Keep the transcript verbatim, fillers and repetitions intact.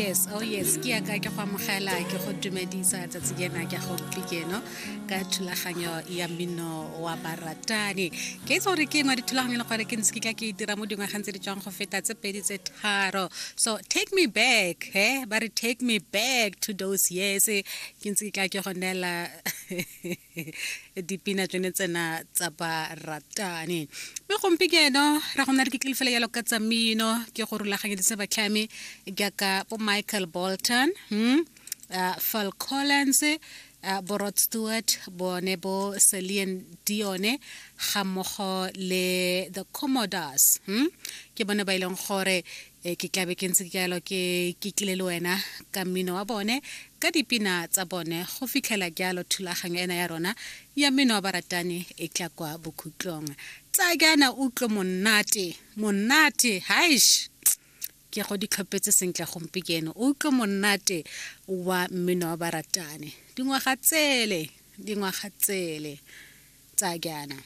Yes, oh yes, ke yaka ke go amogela, ke go dumedisa tsatsi lena ke gompieno ka thulaganyo ya mmino wa baratani. Ke itse gore ke engwe dithulaganyo le gore ke ntse ke tla ke dira mo dingwageng tse di tswang go feta tse pedi tse tharo. So take me back, he ba re, take me back to those years. Ke ntse ke tla ke go neela dipina tsone tsena tsa baratani, mme gompieno ra go nna re ke tlile fela jalo ka tsa mmino. Ke go rulaganyeditse batlhami jaaka bo Michael Bolton, hmm? uh, Phil Collins, uh, bo Rod Stewart, bone bo Celine Dion, ga mmogo le The Commodores, hmm? Ke bone ba e leng gore eh, ke tlabe ke ntse ke jalo ke ke tlile le wena ka mmino wa bone, ka dipina tsa bone, go fitlhela jalo thulaganyo ena ya rona ya mmino wa baratani e tla kwa bokhutlong. Tsa jaana utlwe monate, monate haish, ke go di tlhopetse sentle gompieno. O utlwe monate wa mmino wa baratane, dingwaga tsele, dingwaga tsele tsa jaana.